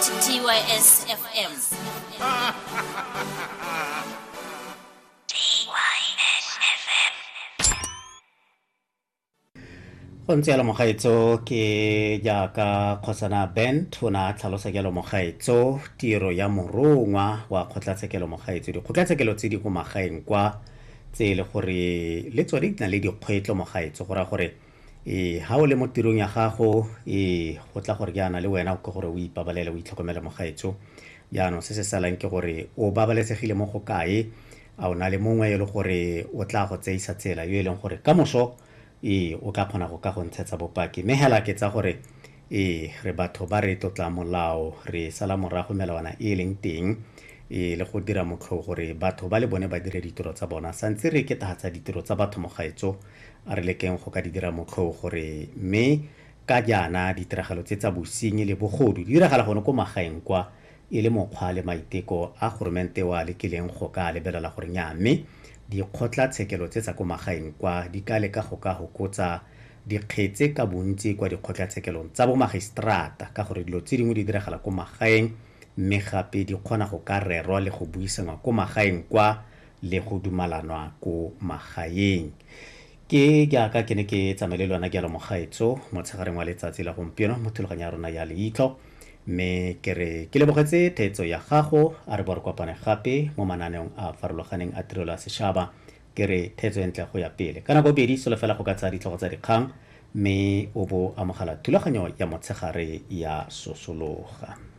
TYS FM. Go ntse jalo mogaetso, ke jaaka kgosana Bent o ne a tlhalosa jalo mogaetso tiro ya morongwa wa kgotlatshekelo mogaetso. Dikgotlatshekelo tse di ko magaeng kwa tse e le gore le tsone di na le dikgwetlho mogaetso, go raya gore ee ha o le mo tirong ya gago ee go tla gore jaana le wena ke gore o ipabalele o itlhokomele mogaetso. Jaanong se se salang ke gore o babalesegile mo go kae, a o na le mongwe e le gore o tla go tseisa tsela yo e leng gore ka moso ee o ka kgona go ka go ntshetsa bopaki. Mme hela ke tsa gore ee re batho ba re tlotla molao, re sala morago melawana e e leng teng ee le go dira motlhoo gore batho ba le bone ba dire ditiro tsa bona. Santse re ketahatsa ditiro tsa batho mogaetso, a re lekeng go ka di dira motlhoo gore mme ka jaana ditiragalo tse tsa bosenyi le bogodu di diragala gone ko magaeng kwa e le mokgwa le maiteko a goromente o a lekileng go ka lebelela gore nyaa mme dikgotlatshekelo tse tsa ko magaeng kwa di ka leka go ka hokotsa dikgetse ka bontsi kwa dikgotlatshekelong tsa bomagiseterata ka gore dilo tse dingwe di diragala ko magaeng mme gape di kgona go ka rerwa le go buisanwa ko magaeng kwa le go dumalanwa ko magaeng. Ke jaaka ke ne ke tsamaile le lona jalo mogaetso motshegareng wa letsatsi la gompieno mo thulaganyo ya rona ya leitlho, mme ke re ke lebogetse theetso ya gago. A re bo re kopane gape mo mananeong a a farologaneng a tirelo ya sešaba. Ke re theetso e ntle go ya pele. Ka nako bedi solofela go ka tsaya ditlhogo tsa dikgang mme o bo amogela thulaganyo ya motshegare ya sosologa.